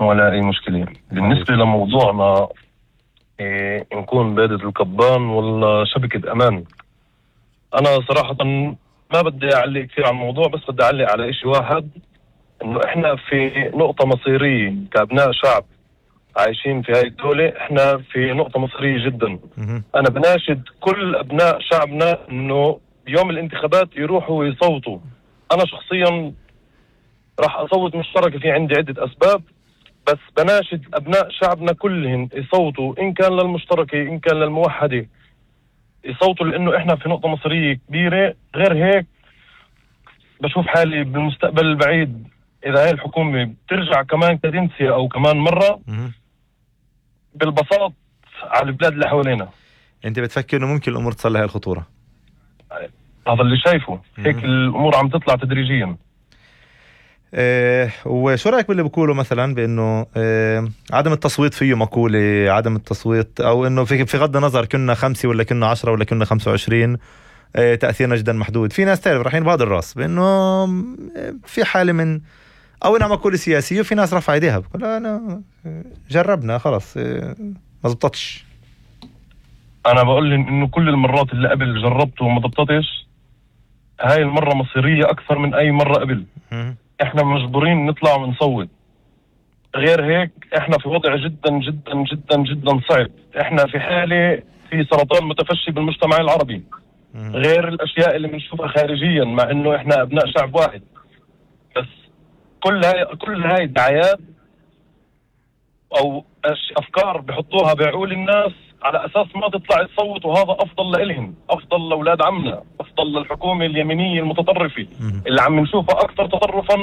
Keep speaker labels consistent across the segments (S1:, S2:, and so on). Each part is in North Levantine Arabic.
S1: ولا أي مشكلة. بالنسبة لموضوعنا نكون بادة القبان ولا شبكة أمان، أنا صراحة ما بدي أعلق كثير على الموضوع، بس بدي أعلق على إشي واحد، إنه إحنا في نقطة مصيرية كأبناء شعب عايشين في هاي الدولة. إحنا في نقطة مصيرية جدا. أنا بناشد كل أبناء شعبنا إنه بيوم الانتخابات يروحوا ويصوتوا. أنا شخصيا راح أصوت مشتركة، في عندي عدة أسباب، بس بناشد أبناء شعبنا كلهم يصوتوا، إن كان للمشتركة إن كان للموحدة، يصوتوا، لأنه إحنا في نقطة مصيرية كبيرة. غير هيك بشوف حالي بالمستقبل البعيد إذا هاي الحكومة بترجع كمان كدنسية أو كمان مرة بالبساط على البلاد اللي حوالينا.
S2: أنت بتفكر إنه ممكن الأمور تصل لهي الخطورة؟
S1: هذا اللي شايفه. هيك الأمور عم تطلع تدريجيا.
S2: وشو رأيك باللي بقوله مثلا بأنه عدم التصويت فيه مقولة، عدم التصويت أو أنه في غض النظر كنا 5 ولا كنا 10 ولا كنا 25 تأثيرنا جدا محدود. في ناس تعرف رايحين بهذا الراس بأنه في حالة من أو إنها مقولة سياسية، وفي ناس رفع ايديها بقول أنا جربنا خلاص ما زبطتش.
S1: أنا بقول إنه كل المرات اللي قبل جربته وما زبطتش، هاي المرة مصيرية أكثر من أي مرة قبل. إحنا مجبورين نطلع ونصوت. غير هيك إحنا في وضع جدا جدا جدا جدا صعب. إحنا في حالة في سرطان متفشي بالمجتمع العربي، غير الأشياء اللي بنشوفها خارجيا، مع إنه إحنا أبناء شعب واحد. بس كل هاي دعايات أو أفكار بحطوها بعقول الناس على أساس ما تطلع تصوت، وهذا أفضل لإلهم، أفضل لأولاد عمنا، أفضل للحكومة اليمينية المتطرفة اللي عم نشوفها أكثر تطرفا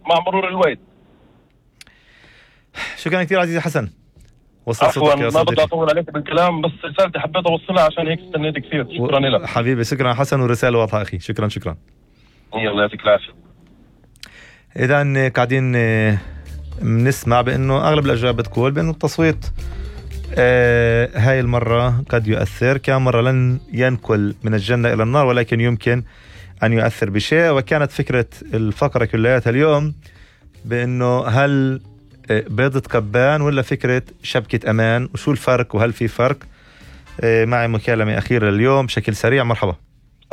S1: مع مرور الوقت.
S2: شكرا كثير عزيزي حسن.
S1: عفوا ما بدي أطول عليك بالكلام، بس رسالتي حبيت أوصلها عشان هيك استنيت كثير. شكرا لك
S2: حبيبي. شكرا حسن، ورسالة واضحة أخي. شكرا.
S1: الله يعطيك العافية.
S2: إذا قاعدين بنسمع بأنه أغلب الأجوبة بتقول بأنه التصويت هاي المرة قد يؤثر، كان مرة لن ينقل من الجنة إلى النار، ولكن يمكن أن يؤثر بشيء. وكانت فكرة الفقرة كلياتها اليوم بأنه هل بيضة كبان ولا فكرة شبكة أمان، وشو الفرق وهل في فرق. معي مكالمة أخيرة اليوم بشكل سريع. مرحبا.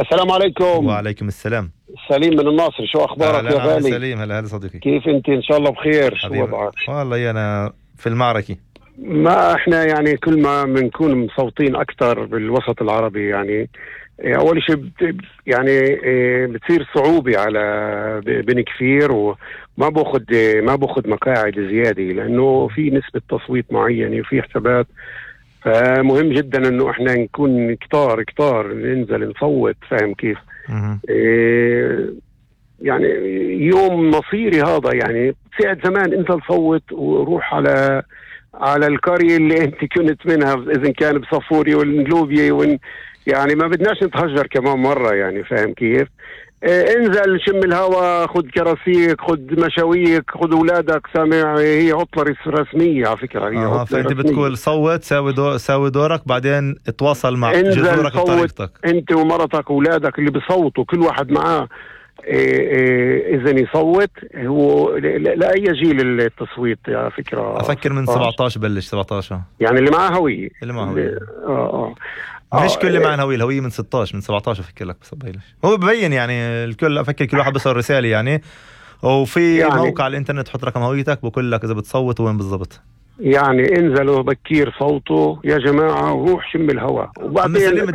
S3: السلام عليكم.
S2: وعليكم السلام.
S3: سليم من الناصر، شو أخبارك يا غالي؟
S2: سليم. هلا صديقي،
S3: كيف أنت؟ إن شاء الله بخير.
S2: شو وضعك؟ والله أنا في المعركة.
S3: ما إحنا يعني كل ما بنكون مصوتين أكثر بالوسط العربي، يعني أول شيء يعني بتصير صعوبة على بن كفير، وما باخد مقاعد زيادة لأنه في نسبة تصويت معينة وفي حسابات. فمهم جدا إنه إحنا نكون كتار ننزل نصوت. فاهم كيف؟ يعني يوم مصيري هذا، يعني ساعة زمان انت تصوت وروح على القرية اللي انت كنت منها، اذا كان بصفوري والنلوبية يعني ما بدناش نتهجر كمان مرة. يعني فاهم كيف؟ انزل شم الهوا، خد كراسيك، خد مشاويك، خد اولادك. سامع؟ هي عطلة رسمية على فكرة. هي
S2: فانت بتقول صوت، ساوي دورك، بعدين اتواصل مع جذورك بطريقتك.
S3: انت ومرتك واولادك اللي بيصوتوا كل واحد معاه إذا يصوت. هو لا أي جيل التصويت على فكرة.
S2: أفكر من 17 بلش 17،
S3: يعني اللي معاه هوية.
S2: اللي معاه هوية مش كل اللي معاه هوية. الهوية من 16 من 17 أفكر لك، بس ببينش هو ببين يعني الكل. أفكر كل واحد بيصور رسالة يعني، وفي يعني موقع على الإنترنت تحط رقم هويتك بقول لك إذا بتصوت وين بالضبط.
S3: يعني انزلوا بكير صوتوا يا جماعة، وروح شم الهواء، وبعدين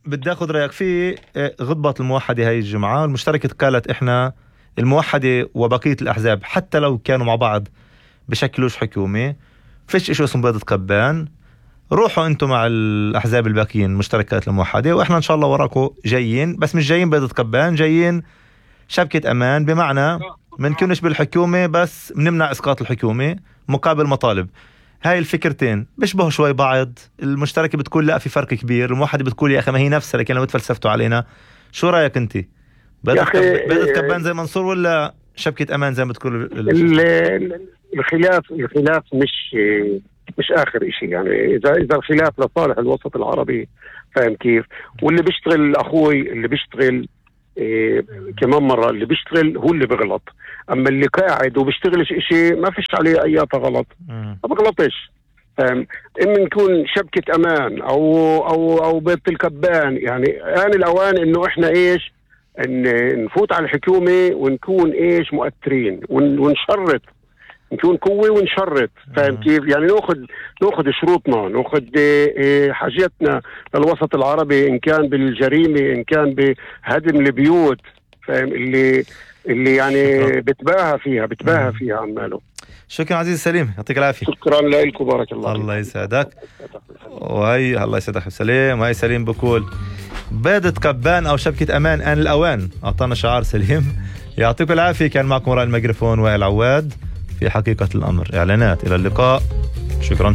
S2: بدي أخذ رأيك في غضبة الموحدة هاي الجمعة. المشتركة قالت إحنا الموحدة وبقية الأحزاب حتى لو كانوا مع بعض بشكلوش حكومة، فيش إشي اسمه بيضة كبان، روحوا أنتم مع الأحزاب الباقيين مشتركات الموحدة، وإحنا إن شاء الله وراكم جايين، بس مش جايين بيضة كبان، جايين شبكة أمان، بمعنى منكونش بالحكومة بس منمنع إسقاط الحكومة مقابل مطالب. هاي الفكرتين بيشبهوا شوي بعض. المشتركة بتقول لا في فرق كبير، الموحدة بتقول يا أخي ما هي نفسها، لكن لو بتفلسفتوا علينا. شو رأيك أنت؟ بيضة كبان زي منصور ولا شبكة أمان زي ما بتقول؟
S3: الخلاف مش آخر إشي. يعني إذا الخلاف لصالح الوسط العربي، فاهم كيف؟ واللي بيشتغل أخوي اللي بيشتغل كمان مرة اللي بيشتغل هو اللي بغلط، أما اللي قاعد وبيشتغلش إشي ما فيش عليه أي غلط، ما بغلطش. إما نكون شبكة أمان أو بيت الكبان، يعني آن الأوان إنه إحنا إيش نفوت على الحكومة ونكون إيش مؤثرين ونشرط، نكون قوة ونشرط. فاهم كيف؟ يعني ناخذ شروطنا، ناخذ حاجاتنا للوسط العربي، إن كان بالجريمة، إن كان بهدم البيوت. فاهم؟ اللي يعني بتباهى فيها عماله.
S2: شكرا عزيز سليم، يعطيك العافية.
S3: شكرا لكم، بارك الله.
S2: الله يسعدك. وهي الله يسعدك سليم. وهي سليم بقول بيضة كبان أو شبكة أمان آن الأوان. أعطانا شعار سليم، يعطيكم العافية. كان معكم وراء الميكروفون وائل عواد في حقيقة الأمر. إعلانات. إلى اللقاء. شكرا.